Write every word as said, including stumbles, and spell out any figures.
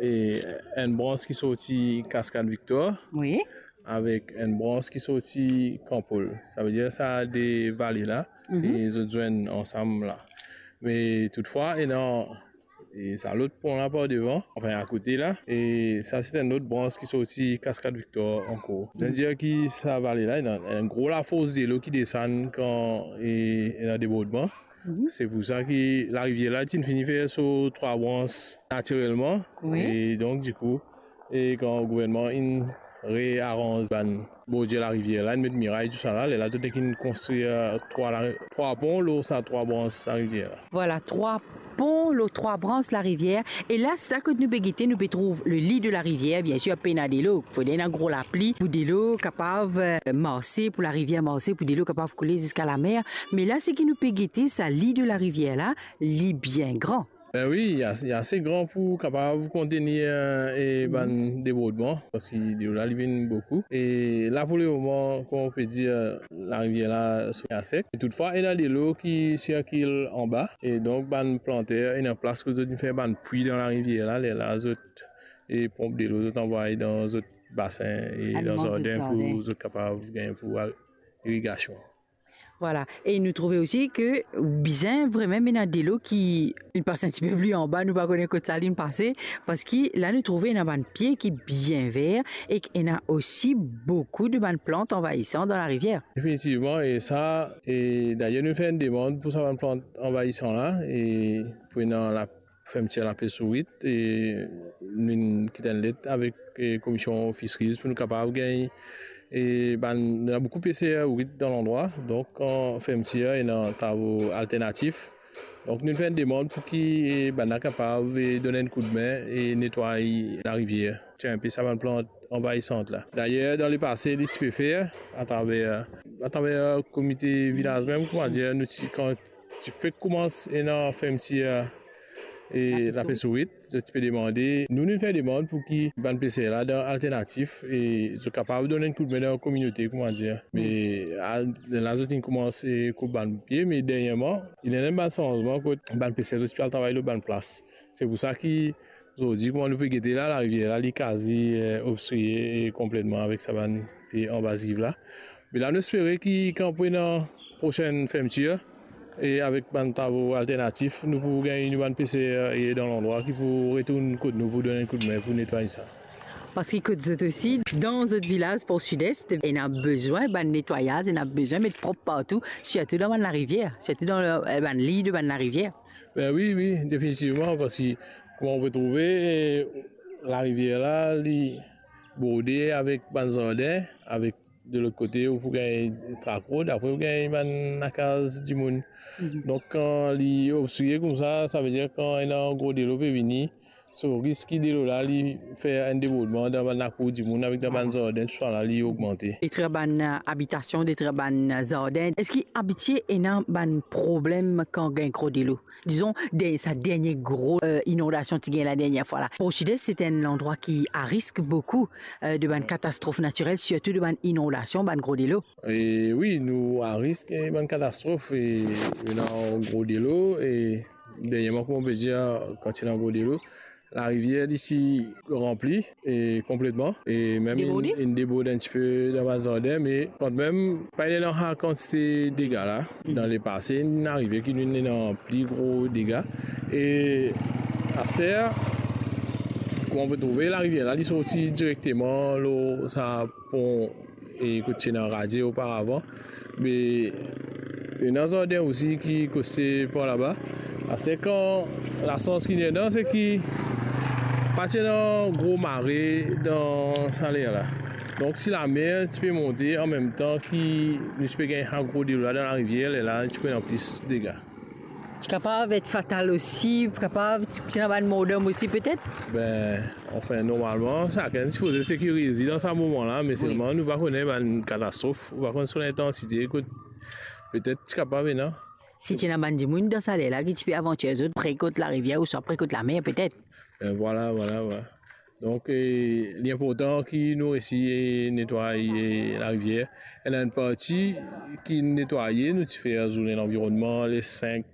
e enn brans ki sorti Cascade Victor, wi, avek enn brans ki sorti Kan Pol. Savedir sa de vale la, mhm, e zot zwenn ansam la. Me toutfwa, ena, e sa lot pon la par devan, anfin, akote la, e sa se enn lot brans ki sorti Cascade Victor ankor. Mhm. Savedir ki sa vale la, ena enn gro lafors delo ki desann kan, e, ena debordman. Mhm. Se pou sa ki larivier la ti fini fer so trwa brans natirelman. Wi. E donk, dikou, e kan gouvernman inn rearanz bann bordir larivier la, inn met miray, tousala, lerla zot inn konstrir, e, trwa la-, trwa pon lor sa trwa brans larivier la. Vwala, trwa pon lor trwa brans larivier. E la, sa kot nou pe gete, nou pe trouv le li de larivier, biensir, pena delo. Fode ena gro lapli pou delo kapav, e, marse, pou larivier marse, pou delo kapav koule ziska lamer. Me la, seki nou pe gete, sa li de larivier la, li bien gran. Ben wi, li a-, li ase gran pou kapav kontenir, e, e, bann debordman, parski delo la, li vinn boukou. E la, pou lemoman, kouma ou pe dir, larivier la, so-, li asek. E toutfwa, ena delo ki sirkil anba. E donk, bann planter, ena plas kot zot inn fer bann pwi dan larivier la, lerla zot, e, ponp delo, zot anvway dan zot basin e dan zot zarden pou zot kapav gagn pou a-, irigasion. Vwala. E nou trouve osi ke bizin vremem ena delo ki inn pas enn tipe pli anba, nou pa kone kot sa linn pase, parski la nou trouve ena bann pie ki bien ver e ki ena osi boukou de bann plant anvayisan dan larivier. Definitivman, e sa, e dayer nou fer enn demann pou sa bann plant anvayisan la, e pou ena la fermtir lapes ourit, e nou kit enn let avek, e, Komision Fisheries pou nou kapav gagn, e, bann, ena boukou peser ourit dan landrwa, donk, kan fermtir, ena travo alternatif. Donk, nou fer enn demann pou ki, e, bannla kapav, e, donn enn koudme, e, netway larivier, tir enpe sa bann plant anvayisan la. Dayer, dan lepase, li ti pe fer atraver, atraver komite vilaz mem, koumadir, nou ti, kan ti fek koumans ena fermtir, e, lapes ourit, zot ti pe demande, nou, nou fer demann pou ki bann peser la dan alternatif, e zot kapav donn enn koudme dan kominote, koumadir. Me, a, la zot inn koumans, e, koup bann pie, me dernyerman, ena bann sanzman kot bann peser zot ti pe al travay lor bann plas. Se pou sa ki, zordi, kouma nou pe gete la, larivier la, li kazi, e, obstriye, e, konpletman avek sa bann pie anvaziv la. Me la, nou espere ki kan pou ena prosenn fermtir, e avek bann travo alternatif, nou pou gagn nou bann peser, e, dan landrwa ki pou retourn kot nou pou donn enn koudme pou netway sa. Parski kot zot osi, dan zot vilaz Port Sud-Est, ena bizin bann netwayaz, ena bizin met prop partou, sirtou dan bann larivier, sirtou dan, e, bann li de bann larivier. Ben wi, wi, definitivman, parski kouma ou pe trouve, e, larivier la, li borde avek bann zarden, avek de lot kote, ou pou gagn trak rod, apre ou gagn bann lakaz dimoun. Mhm. Donk, kan li obstriye koumsa, savedir kan ena gro delo pe vini, so risk ki delo la, li fer enn debordman dan bann lakour dimoun, avek dan bann zarden, tousala, li ogmante. Detrwar bann, e, abitasion, detrwar bann, e, zarden. Eski abitie ena bann problem kan gagn gro delo? Dizon, de-, sa dernie gro, e, inondasion ti gagn la dernie fwa la. Port Sud-Est, se enn landrwa ki a risk boukou, e, de bann katastrof natirel, sirtou de bann inondasion, bann gro delo. E wi, nou a risk, e, bann katastrof, e, ena gro delo, e, dernyerman, kouma ou pe dir, kan ti ena gro delo, larivier li ti ranpli, e, konpletman, e mem inn, inn debord enn tipe dan bann zarden, me kanmem, pa ena sa kantite dega la. Dan lepase, inn arive ki nou ena pli gro dega. E aster, kouma ou pe trouve, larivier la, li sorti direkteman lor sa pon, e kot ti ena radie oparavan. Me ena zarden osi ki koste par laba. Aster, kan lasans ki ena, se ki pa ti ena gro mare dan sa ler la. Donk, si lamer ti pe monte anmemtan ki nou ti pe gagn sa gro delo la dan larivier, lerla ti pou ena plis dega. Ti kapav et fatal osi, kapav ti, ti ena bann mordom osi, petet? Ben, anfin, normalman, sakenn sipoze sekirize dan sa moman la, me selman nou pa kone bann katastrof, ou pa konn so lintansite, kot petet ti kapav ena. Si ti ena bann dimoun dan sa ler la ki ti pe avantir zot pre kot larivier ouswa pre kot lamer, petet. Ben, vwala, vwala, vwala. Donk, e, li inportan ki nou resi, e, netway, e, larivier. Ena enn parti ki netwaye, nou ti fer zourne lanvironnman le sink